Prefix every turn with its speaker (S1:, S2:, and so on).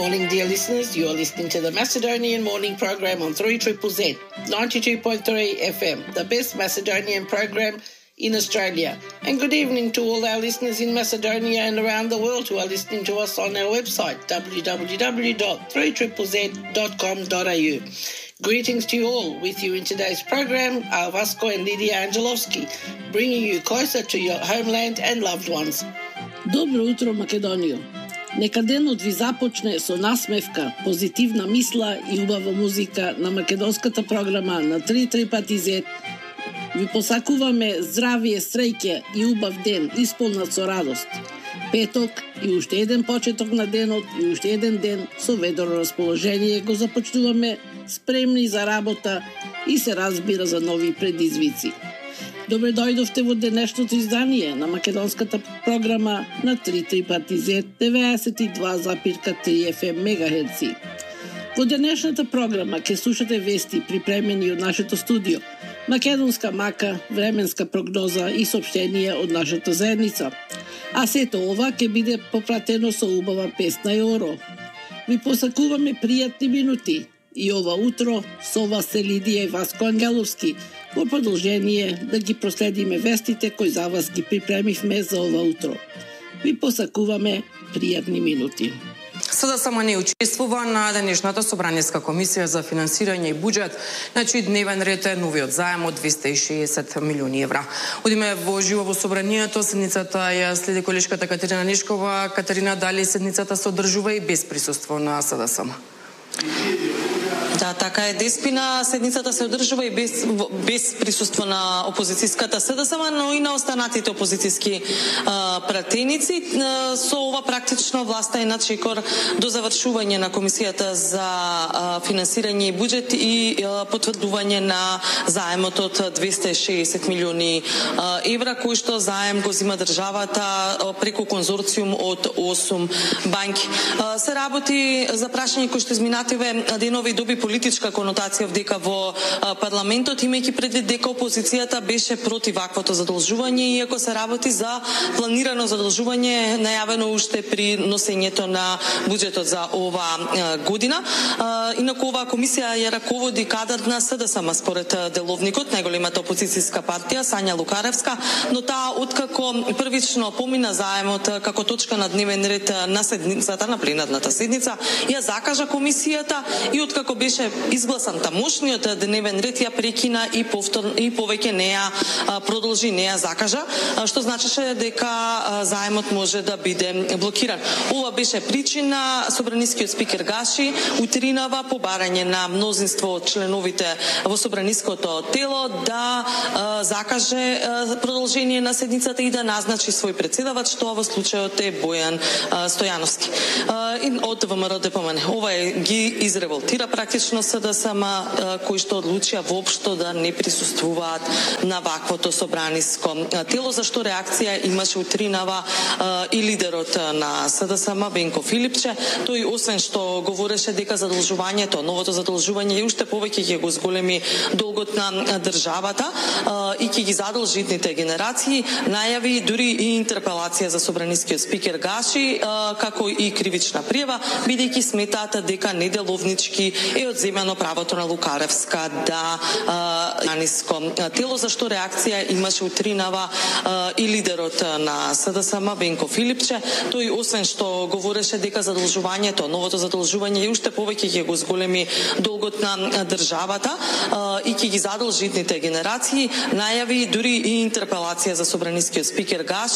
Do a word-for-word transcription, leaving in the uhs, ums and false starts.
S1: morning, dear listeners. You are listening to the Macedonian Morning Program on three Z Z Z, ninety-two point three F M, the best Macedonian program in Australia. And good evening to all our listeners in Macedonia and around the world who are listening to us on our website, w w w dot three z z z dot com dot a u. Greetings to you all. With you in today's program are Vasco and Lydia Angelovski, bringing you closer to your homeland and loved ones.
S2: Добро утро, Македонијо. Нека денот ви започне со насмевка, позитивна мисла и убава музика на македонската програма на три три пати зет. Ви посакуваме здравие, среќа и убав ден, исполнат со радост. Петок и уште еден почеток на денот и уште еден ден со ведро расположение го започнуваме, спремни за работа и се разбира за нови предизвици. Добре дојдовте во денешното издание на македонската програма на три три пати зет, деветдесет и два запирка три Ф М мегахерци. Во денешната програма ќе слушате вести припремени од нашето студио, македонска мака, временска прогноза и соопштенија од нашата заедница. А сето ова ќе биде попратено со убава песна и оро. Ви посакуваме пријатни минути и ова утро со вас се Лидија и Васко Ангеловски, во продолжение да ги проследиме вестите кои за вас ги припремивме за ова утро. Ви посакуваме пријатни минути.
S3: СДСМ не учествува на денешната Собраниска комисија за финансирање и буџет, на чиј дневен ред е новиот заем од двесте и шеесет милиони евра. Одиме во живо во собранието, седницата ја следи колешката Катерина Нешкова. Катерина, дали седницата се одржува и без присуство на СДСМ?
S4: Да, така е, Деспина. Седницата се одржува и без, без присуство на опозицијската СДСМ, но и на останатите опозицијски а, пратеници. А, со ова практично власта е на чекор до завршување на Комисијата за а, финансирање и буџет и а, потврдување на заемот од двесте и шеесет милиони а, евра, кој што заем го зима државата а, преку конзорциум од осум банки. А, се работи за прашање кој што изминативе денови доби политичка конотација вдека во парламентот, имајќи предвид дека опозицијата беше против ваквото задолжување, иако се работи за планирано задолжување најавено уште при носењето на буџетот за ова година. Инаку оваа комисија ја раководи кадар на СДСМ според деловникот, најголемата опозицијска партија Сања Лукаревска, но таа откако првично помина заемот како точка на дневен ред на седницата, на пленарната седница, ја закажа комисијата и откако беше изгласан тамошниот дневен ред, ја прекина и повторно и повеќе неа продолжи, неа закажа, што значеше дека заемот може да биде блокиран. Ова беше причина собранискиот спикер Гаши утринава по барање на мнозинство од членовите во собраниското тело да закаже продолжение на седницата и да назначи свој председавач, што во случајот е Бојан Стојановски од ВМРО Д П М Н. Ова е ги изреволтира практично СДСМ, кои што одлучија воопшто да не присуствуваат на ваквото собраниско тело, за што реакција имаше утринава и лидерот на СДСМ Венко Филипче. Тој освен што говореше дека задолжувањето, новото задолжување и уште повеќе ќе го зголеми долгот на државата и ќе ги задолжи идните генерации, најави дури и интерпелација за собранискиот спикер Гаши, како и кривична пријава, бидејќи сметаат дека неделовнички е одземано правото на Лукаревска да наниско тело, за што реакција имаше утринава и лидерот на СДСМ Венко Филипче. Тој освен што говореше дека задолжувањето, новото задолжување и уште повеќе ќе го зголеми долгот на државата и ќе ги задолжи идните генерации, најави дури и интерпелација за собранискиот спикер Гаши,